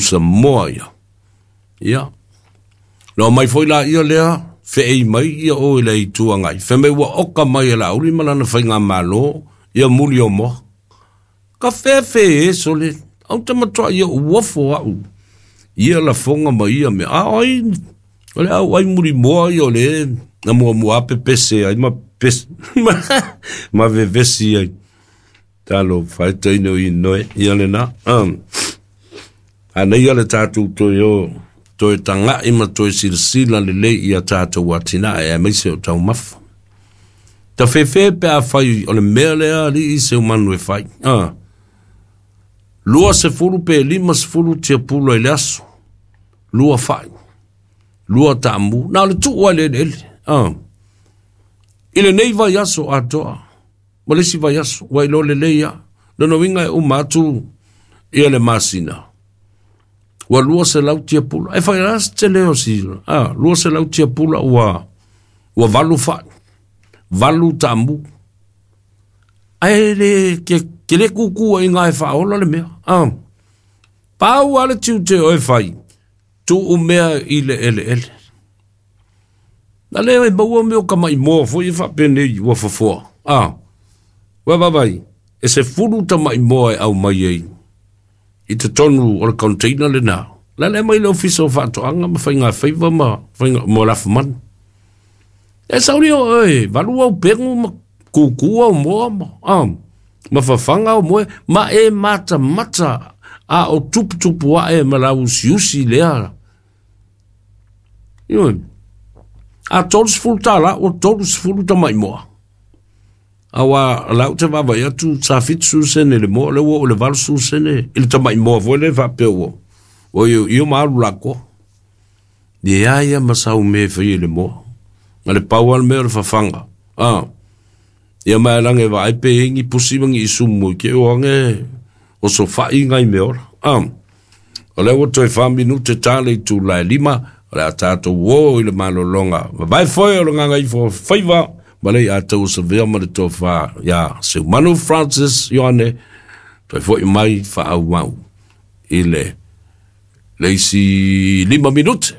pusamoa ia. Ia. Na omai foi laia lea, feei mai ia o i le Itu Agai, fai mai ua oka mai e Laauli ma lana faigamalo ia muli o moa. Ka fefe e sole, au te matua ia uofo au. Ia lafoga ma ia mea. A oi, o le au ai muli moa ia o le na mua mua pepese ai ma pese, ma vevesi ai. Talo faitaina o inoe, ia lena. A nei ia le tatou toe o, toe taga'i ma toe silasila lelei ia tatou atinae aemaise o taumafa. Tafefe pe afai o le mea lea alii Seumanu e fai. 20 pe 50 tiapula i le aso. 2 fai. 2 taamu. Na o le tuu ai le eleele. I lenei vaiaso atoa. Ma le isi vaiaso. Ua iloa lelei lava. Lona uiga e uma atu ia le masina. Ua 200 tiapula. E fai la se tele o si. 200 tiapula ua 8 fai. 8 taamu. Ae le ke le kuku ai ngai whaola le mea. Pau ale tiute o e whai. Tuu mea i le ele ele. Na lea e maua mea o ka mai moa foi e whapene ua fafoa. Ua vavai. E se fulu ta mai moa e au mai ei. I te tonu o le container le nā. La le mai le ofisa o whaatoanga ma whainga whaiva ma whainga mo lafumanu. E sauri o e, valu au pengu ma kuku au moa ma, ma whawhanga au moe, ma e mata mata a o tupu tupu a e ma lau usi usi lea. Ioe, a 30 tāla, o 30 ta mai moa. Awa lau te vava ia tu sa 70 sene le moa, le ua o le 80 sene, i le tamai moa foi le whapea ua. O io, io maalu lako. Ia ia masau me whai le moa. Nga le pau al mea o le whawhanga. Ia mai lange wa ai pe ingi pusi mangi isumu ke o ange o so whai ngai me ora. O le ua toe 4 minute tāle i tū lai 5, o le a tātou o i le malolonga. Vai foi o le nganga ifo whaiva, ma lei a tau sa vea ma le tofa ia Seumanu Francis Ioane, toe foi mai whaau mau i le leisi 5 minute.